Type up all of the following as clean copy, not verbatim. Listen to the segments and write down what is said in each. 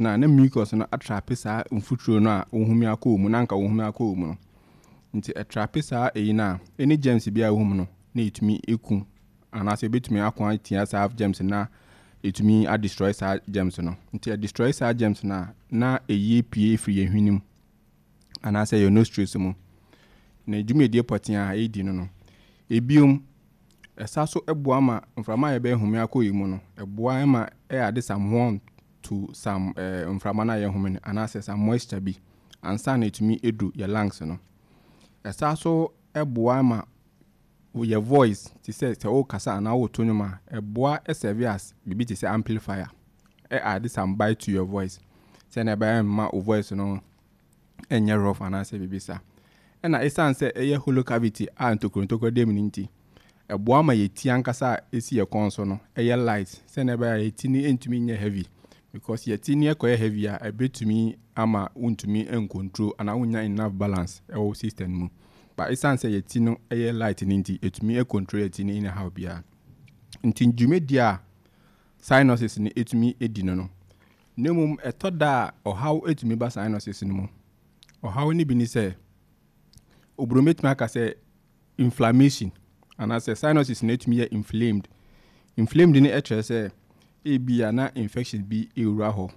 Na mucus no atrap saa mfuturo no a wohumi akɔ wo mu na anka wohumi akɔ wo mu no. Nti ɛtrap saa eyi no a, any germs bi a ɛwɔ mu no na ɛtumi eku anaasɛ ɛbɛtumi ako atia saa germs no na ɛtumi adestroy saa germs no. Nti ɛdestroy saa germs no a, na ɛyi pue firi yɛn hwene mu anaasɛ yɛn nostrils mu. Na dwumadie pɔtee a ɛredi no, ebiom, ɛsa so boa ma mframa a yɛbɛhome akɔ yi mu no, ɛboa ma ɛyɛ ade some warmth to some mframa no a yɛhome no anaasɛ some moisture bi ansa na ɛtumi edu yɛ lungs no. Ɛsa so boa ma yɛ voice, te sɛ wokasa anaa woto nnwom a, ɛboa serve as biribi te sɛ amplifier. Ɛ add some bite to your voice sɛnea ɛbɛyɛ mma wo voice no ɛnyɛ rough anaasɛ biribi saa. Ɛna ɛsiane sɛ ɛyɛ hollow cavity a ntokuro ntokuro da mu no nti, ɛboa ma yɛ ti ankasa a ɛsi yɛ kɔn so no ɛyɛ light sɛnea ɛbɛyɛ a yɛ ti no ntumi nyɛ heavy, because yɛ ti no ɛkɔyɛ heavy a, ɛbɛtumi ama wontumi ncontrol anaa wonnya enough balance ɛwɔ wo system mu. But ɛsiane sɛ yɛ ti no ɛyɛ light no nti, ɛtumi control yɛ ti no anyhow biara. Nti dwumadie a sinuses no ɛtumi di no, na mmom ɛtɔ da a ɔhaw ɛtumi ba sinuses no mu. Ɔhaw no bi ne sɛ, oburoni bɛtumi aka sɛ inflammation anaasɛ sinuses no ɛtumi yɛ inflamed. Inflamed no ɛkyerɛ sɛ ebia na infection bi ɛwura hɔ,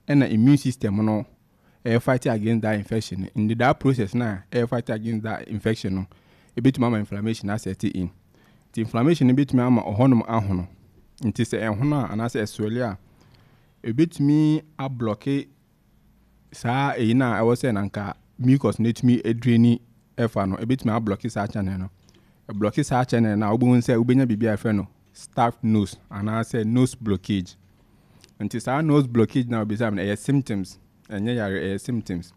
ɛna immune system no ɛyɛ fight against that infection no. In that process na ɛyɛ fight against that infection no, ebɛtumi ama inflammation aset in. Nti inflammation no bɛtumi ama ɔhɔnom ahono. Nti sɛ ɛhono a anaasɛ ɛswell a, ebɛtumi ablock saa eyi no a ɛwɔ sɛ nanka mucus no etumi drain ɛfa no, ebɛtumi ablock saa channel no. Ɛblock saa channel no a, wobɛhu sɛ wobɛnya biribi a yɛfrɛ no stuffed nose anaasɛ nose blockage. Nti saa nose blockage na obisa me no, ɛyɛ symptoms, ɛnyɛ yare, ɛyɛ symptoms.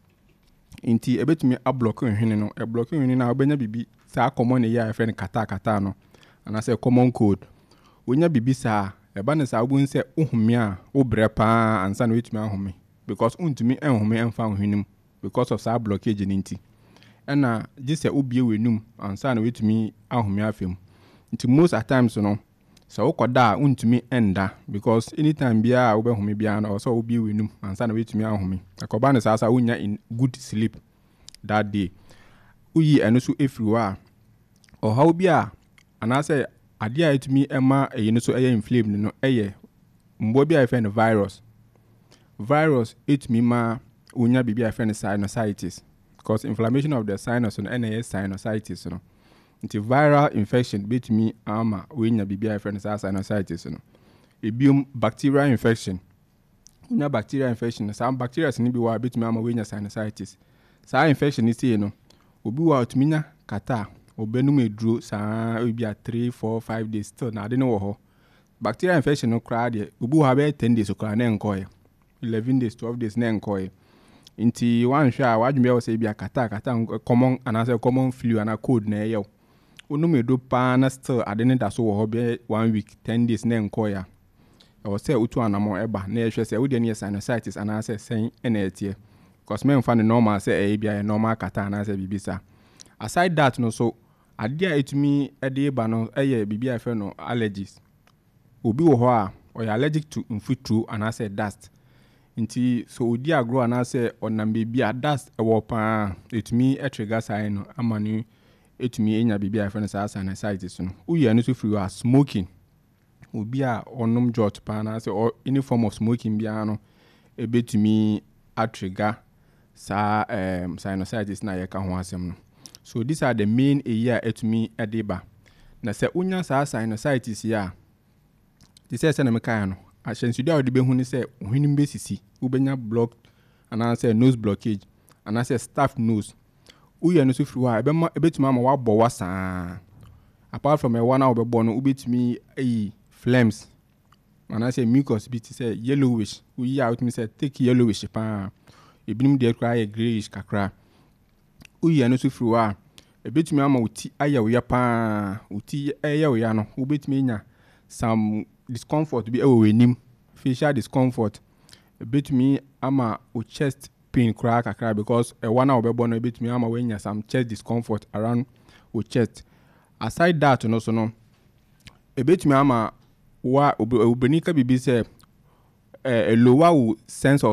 Nti ebɛtumi ablock nhwene no. Ɛblock nhwene no a, wobɛnya biribi saa common yi a yɛfrɛ no catarrh catarrh no anaasɛ common cold. Wonya biribi saa, ɛba no saa, wobɛhu sɛ wohome a, wobrɛ paa ansa na woatumi ahome, because wontumi nhome mfa wo hwene mu because of saa blockage no. Nti ɛna gye sɛ wobie w'anum ansa na woatumi ahome afa mu. Nti most at times no, sɛ wokɔda a, wontumi nda, because anytime biara a wobɛhome biara no, ɛwɔ sɛ wobie w'anum ansa na woatumi ahome. Ɛkɔba no saa saa, wonya in good sleep that day. Woyi ɛno so efiri hɔ a, ɔhaw bi a anaasɛ adeɛ a ɛtumi ɛma ɛyi no so ɛyɛ inflamed no ɛyɛ mmoa bi a yɛfrɛ no virus. Virus ɛtumi ma wonya biribi a yɛfrɛ no sinusitis, because inflammation of the sinus no ɛna ɛyɛ sinusitis no. Nti viral infection bɛtumi ama woanya biribi a yɛfrɛ no saa sinusitis no. Ebiom, bacterial infection. Wonya bacterial infection no, saa bacteria no bi wɔ a bɛtumi ama woanya sinusitis. Saa infection no sei no, obi wɔ a ɔtumi nya catarrh, ɔbɛnum aduro saa ebi a 3, 4, 5 days, still na ade no wɔ hɔ. Bacterial infection no koraa deɛ, obi wɔ hɔ a bɛyɛ 10 days koraa na ɛnkɔɛ, 11 days, 12 days na ɛnkɔɛ. Nti wanhwɛ a, wadwene bɛyɛ wɔ sɛ ebi a catarrh catarrh common anaasɛ common flu anaa cold na ɛyɛ wo. Wonom aduro paa na still ade no da so wɔ hɔ bɛyɛ one week, 10 days na ɛnkɔɛ a, ɛwɔ sɛ wotu anammɔn ɛba na yɛhwɛ sɛ wodeɛ no yɛ sinusitis anaasɛ sɛn ɛna ɛteɛ, because mɛmfa no normal sɛ ɛyɛ bi a ɛyɛ normal catarrh anaasɛ biribi saa. Aside that no so, adeɛ a ɛtumi ɛde ba no ɛyɛ biribi a yɛfrɛ no allergies. Obi wɔ hɔ a ɔyɛ allergic to mfuturo anaasɛ dust. Nti sɛ ɔdi agorɔ anaasɛ ɔnam baabi a dust ɛwɔ paa, ɛtumi ɛtrigger saa no ama no ɛtumi anya biribi a yɛfrɛ no saa sinusitis no. Woyi ɛno nso firi hɔ a, smoking. Obi a ɔnom jot paa anaasɛ any form of smoking biara no ɛbɛtumi atrigger saa sinusitis na yɛka ho asɛm no. So these are the main eyi a ɛtumi ɛde ba. Na sɛ wonya saa sinusitis yi a, te sɛ sɛnea mekaeɛ no, ahyɛnsodeɛ a wode bɛhu ne sɛ hwenem bɛsisi, wobɛnya block anaasɛ nose blockage anaasɛ stuffed nose. Woyɛ no so firi hɔ a, ɛbɛma ɛbɛtumi ama woabɔ wa saa. Apart from ɛwa no a wobɛbɔ no, wobɛtumi ayi phlegms anaasɛ mucus bi te sɛ yellowish. Woyi a, wotumi sɛ thick yellowish paa. Ebinom deɛ koraa yɛ greyish kakra. Woyi ɛno nso firi hɔ a, ɛbɛtumi ama wo ti ayɛ wo ya paa. Wo ti ɛyɛ wo ya no, wobɛtumi anya some discomfort bi ɛwɔ w'anim, facial discomfort. Ɛbɛtumi ama wo chest pain koraa kakra, because ɛwa no a wobɛbɔ no ɛbɛtumi ama woanya some chest discomfort around wo chest. Aside that no so no, ɛbɛtumi ama wa obroni ka biribi sɛ Ɛ lower wo sense of